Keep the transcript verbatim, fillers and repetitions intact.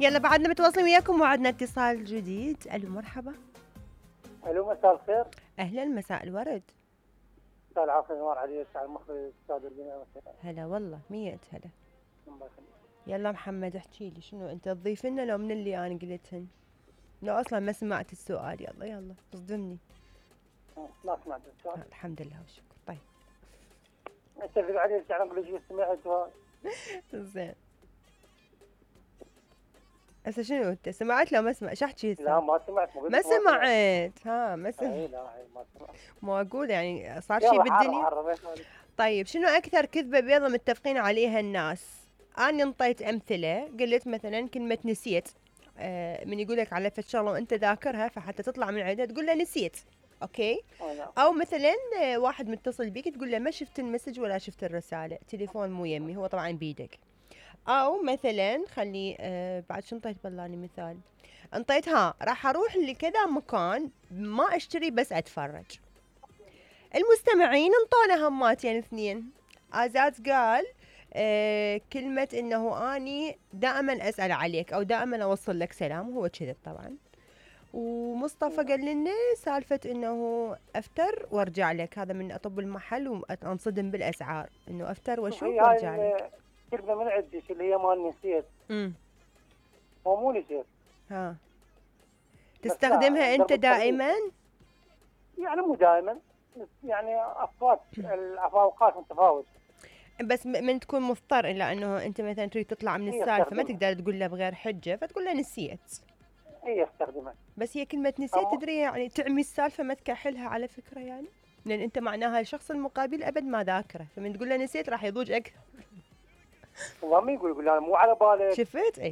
يلا بعدنا متواصلين وياكم وعدنا اتصال جديد. الو مرحبا. الو مساء الخير. اهلا مساء الورد. مساء العافيه نور عليك على المخرج استاذ البناء. هلا والله مية هلا. الله يخليك. يلا محمد احكي لي شنو انت تضيف لنا لو من اللي انا قلتهن؟ لو اصلا ما سمعت السؤال. يلا يلا اصدمني. ما سمعت السؤال. آه الحمد لله والشكر. طيب اتفق عليك يعني اقول لك سمعت. زين هسه شنو انت سمعت لو ما سمعت؟ شو احكي هسه؟ لا ما سمعت. ما سمعت. ها ما سمعت. اي لا ما سمعت. مو اقول يعني صار شيء بالدنيا. طيب شنو اكثر كذبه بيضه متفقين عليها الناس؟ انا انطيت امثله قلت مثلا كلمه نسيت. آه من يقول لك على فد شغله وانت ذاكرها فحتى تطلع من عيدها تقول له نسيت. اوكي. او مثلا واحد متصل بيك تقول له ما شفت المسج ولا شفت الرساله، تليفون مو يمي، هو طبعا بيدك. او مثلا خلي آه بعد شو انطيت بلاني مثال؟ انطيت ها راح اروح لكذا مكان ما اشتري بس اتفرج. المستمعين انطونا هماتين اثنين. ازاز قال آه كلمة انه اني دائما اسأل عليك او دائما اوصل لك سلام، وهو كذب طبعا. ومصطفى قال لنا سالفة انه افتر وارجع لك، هذا من اطب المحل وانصدم بالاسعار انه افتر واشوف وارجع لك. كلمة من عندك اللي هي مال نسيت. امم هو مو نسيت. ها تستخدمها انت دائما؟ يعني مو دائما، يعني افوات الاوقات متفاوت. بس من تكون مضطر الى انه انت مثلا تريد تطلع من السالفه ما تقدر تقول له بغير حجه فتقول له نسيت. اي استخدمها. بس هي كلمه نسيت تدري يعني تعمي السالفه ما تكحلها على فكره يعني، لان انت معناها الشخص المقابل ابد ما ذاكره، فمن تقول له نسيت راح يضوج اكثر. والله ما يقول يقول انا مو على بالك. شفت؟ اي